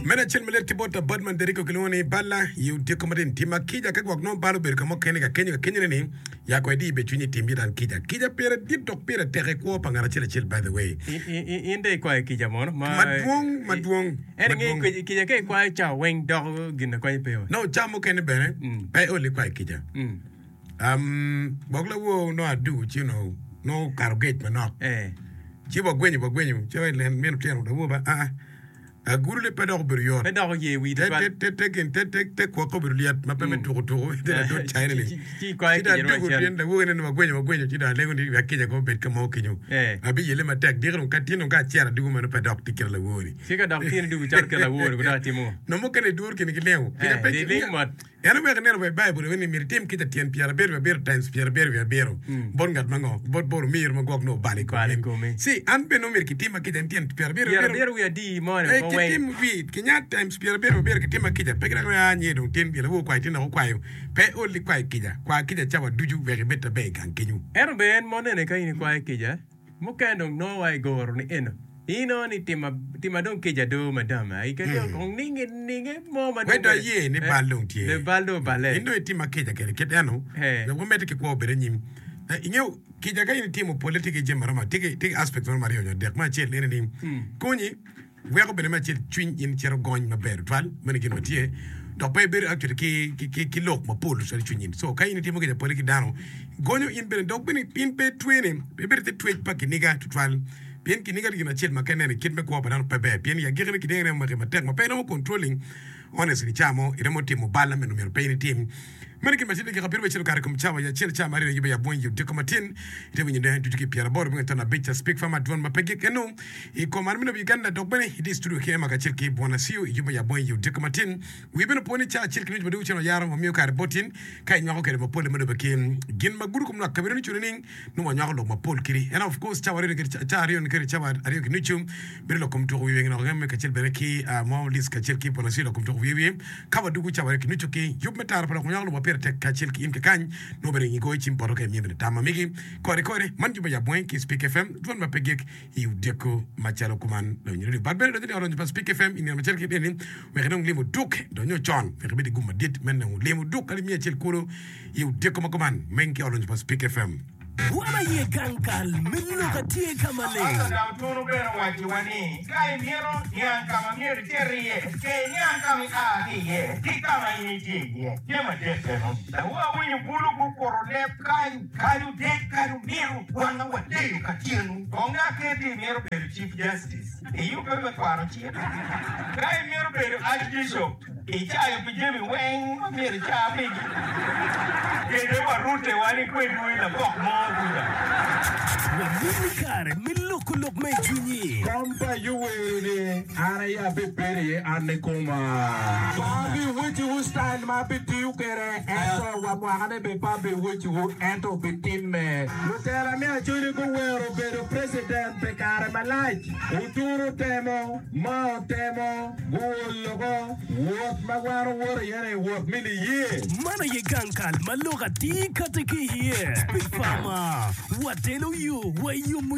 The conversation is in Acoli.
Meno acel ma lit ki bot Abadman Deriko kilwongo ni Balla i odiko matin. Tima kica ka gwok nongo bal obedo ka mo kene ka kenyo ka kenyone ni ya ko idi be cwinyi tim idan kica. Kica pire dit dok pire tek i kwo pa ngat acel acel by the way. In dong ikwayo kica mono? Madwong madwong. Ento inge kica ka ikwayo cawa weng doko gin ma konye pe wa. No ca mukene bene pe iol ikwayo kica. Gwok lawor nongo adugo ci onongo nongo okato gec manok. Ci wagwenyo wagwenyo ci min otyeno lawor ba aa agurune pe dok obedo yot. Pe dok oye wii tutwal. Te te gin te te te kwokke obedo lyet ma pe me tuko tuko ite ladot caine ni. Ci ikwayo kica dong acel. Pien lawor ene wagwenyo wagwenyo ci dong alego ni wek kica kong obed ka mo kenyo. Abiyelle matek diki dong ka tin dong ka acito adugo meno pe dok tye kite lawor ni. Ci ka dok tin idugo calo kite lawor ni dok itimo ngo? Nongo mukene iduro kine ki lengo. Kica pe Liling mot. En oweko ineno wa i Baibul ni myero itim kica tyen pyerabiro wiye abiro times pyerabiro wiye abiro bot ngat ma ngo? Bot bot omiro ma gwok nongo obalo i komi. Ci an bene nongo myero kitima kica en tyen pyerabiro wiye abiro. Pyerabiro wiye adi moni woko weng? Kitim wi kinya times pyerabiro wiye abiro kitima kica pe gidok ni aa nye dong tin pien awobi okwayo tin dok okwayo. Pe ol ikwayo kica. Kwa kica cawa ducu wek ibed maber i gang kenyu. Ento bene en mo nene ka in ikwayo kica Mukene dong nongo wa i goro ni eno inongo ni tima tima dong kica do madam ai ka dong kong ninge ninge mo ma dong Wek aye ni bal dong tye. Be bal dong oballe. In dong itima kica kede kit eno wek wamedde ki kwo obed anyim. Ingeyo kica ka in itimo polle tye ki jami maromo tye ki aspects maromo aryo nyo adek. Me acel ene ni konyi Weko bene me acel cwiny in cito gony maber tutwal, meno gin ma tye, dok pe ibedo actually ki, ki, ki, ki lok mapol tutwal i cwiny in. So ka in itimo kica pole ki dano, gonyo in bene dok bene in pe itwene, pe ibedo ite twec pa kiniga tutwal. Pien kiniga tye gin acel ma ka ineno i kit me kwo pa dano pe ber, pien i agikine kiniga romo maki matek ma pe iromo controlling honestly ca mo iromo timo bal ma myero pe in itim. Meno gin ma tye dakika abiro me cito kare kom cawa i acel ca ma aryo yube yabwony i odiko matin. Ite winyo ne ducu ki pyeraboro me ton abic ca Speak Farmer dwon ma pe gik eno i kom an me lobo Uganda dok bene itye i studio ki Emma kacel ki Bwana Siu i yub me yabwony i odiko matin. Wii bene opo ni ca acel ki nucu ma dong cen oyaro wamiyo kare bot in ka inywako kede mapol ma lube ki gin ma gudo kom lwak kabedo ni cune ning nongo wanywako lok mapol kidi ento of course cawa aryo ca aryo ni kede cawa aryo ki nucu bedo lok kom tuko wiye wiye ngene kacel bene ki mo list kacel ki Bwana Siu lok kom tuko wiye wiye. Ka wadwogo cawa aryo ki nucu ki yub me tara pa lok ma nywako lok ma pire tek kacel ki in kekany, nongo bene ingi goyo cim poto ka imiyo bene tam ma megi. Kore kore, man jumbe yab weng ki Speak FM, dwon ma pe gik i odiko macalo kuman. Lawiny radio bat bene donyo ni odonyo pa Speak FM i nino macalo kit eni wek inong limo duk donyo con wek ibed i gum madit me nongo limo duk alip miya acel kulu i odiko ma kuman meng ki odonyo pa Speak FM. Wan aye gang kal me lok atye ka maleng. Ento Dautunu bene owacciwa ni, Ka imito niang ka ma myero icit iye, ke iniang ka ma ia ki iye ki ka ma in itye iye. Jami adek eno. Dong awinyo bulu gukuto leb kany, kadi odek, kadi omito, wanga wadeyo ka tyenu. Kong aketi imito bedo Chief Justice, iyubbe me kwano cik. Ka imito bedo Archbishop, Icayo pi jami weng ma myero ica pigi, kede warute wani kwedwu i labok mo kuca. Wamini kare me loko lok ma i cwinyi. Kom pa Yoweri-ni an aye abibedo iye an kikoma. Pe abiwecciwu citayil ma abitiyo kwede, ento wa mwakane bene pe abiwecciwu, ento obitimme. Lutela me Acholi guwero bedo preciden pi kare malac. Oturu temo, ma otemo. Guol loko, Wot ma wan owoto iye-ni wot me niye. Man aye gang kal ma lok atir kati ki iye. Big Pharma, watelo yo wa i yomo.